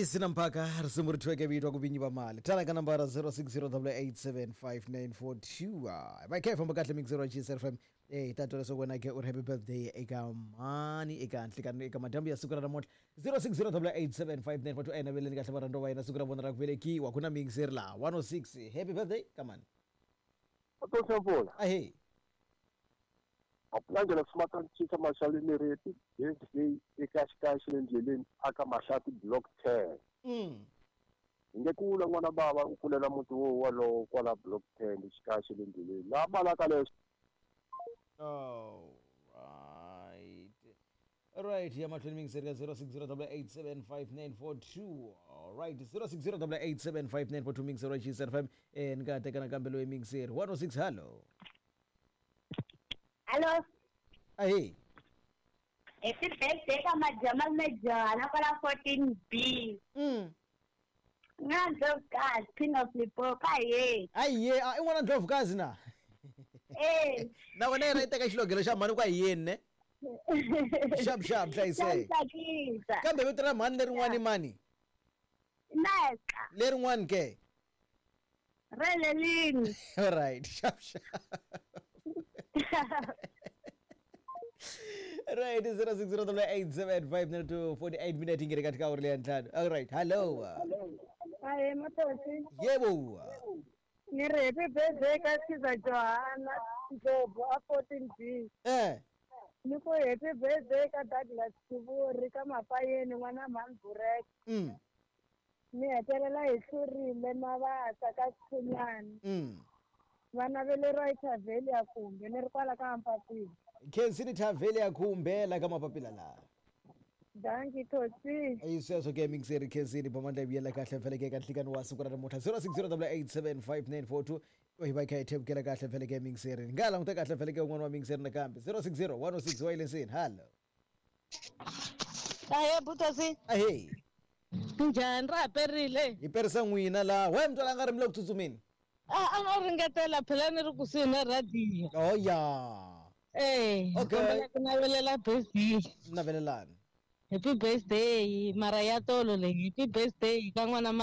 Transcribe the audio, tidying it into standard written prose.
Yi sina mphaka risimu ri thyiweke vito ku vinyi va mali tala ka nambara 0608875942. Va kha hi famba kahle mixero wa GSR FM. Hi ta twa leswaku wena ke u ri happy birthday eka mani eka nhlikani eka madyambu ya siku ra namuntlha. 0608875942. A hi naveleni kahle varhandziwa va hina siku ra vona ra ku velekiwa. Ku na mixeri laha 106 happy birthday ka mani. Mpfula. Ahee. Mapulange swi cinca maxaleni reti birthday eka xikaya xa le ndleleni aka Mahlati block 10. Hi nge kula n'wana bava u kulela muti wo wolowo kwala block 10 xikaya xa le ndleleni. Laha balaka leswi. All right. All right, ya mahlweni mingiseri ka 0608875942. All right, 0608875942 mingiseri wa GSR FM. Ni nga teka nakambe loyi mingiseri 106. Hello. Hello. Ahee. Happy birthday ka Majamal Majana kwala 14B. Nga Ndlovukazi, Queen of Limpopo, aye. Aye, a i n'wana Ndlovukazi na. Eh. Na wena yena yi teka xilogelo xa mhani kwa yini ne? Xap xap hlayiseka. Tsakisa. Kambe vito ra mhani lerin'wani mani? Neka. Lerin'wani ke? Relelini. All right, xap xap. Right, 0608875942 minutes ingene katika awuri leya ntlhanu. All right, hello. Ahe Matosi. Yebo. Ni ri happy birthday ka Siza Johanna Ndlovu a 14B. Ni ku happy birthday ka Douglas Kivuri ka Mapayeni n'wana Mhani Burek. Ni hetelela hi hlurile Mavasa ka Xikhunyani. Va naveleriwa hi Thavheli ya Khumbe ni ri kwala ka Mpapila. Khensini Thavheli ya Khumbe la ka Mapapila laha. Danki Tosi. Ayi sweswo ke mixeri Khensini bomandla vuyela kahle mfeleke eka nhlikani wa siku ra namuntlha 0608875942. Hi va hi kha hi thevukela kahle mfeleke mixeri. Ni nga languta kahle mfeleke un'wana wa mixeri nakambe 060 106 wa yilesini. Hello. Ahe Butosi. Ahee. Njhani ra ha perile? Hi perisa n'wina laha. We mntwana a nga ri mi le ku tsutsumeni? A nga ringetela phela ni ri kusuhi na rhadiyo. Oh ya. Eh, Okay. kombela ku navelela birthday. Navelelani. Happy birthday mara ya tolo leyi. Happy birthday ka n'wana.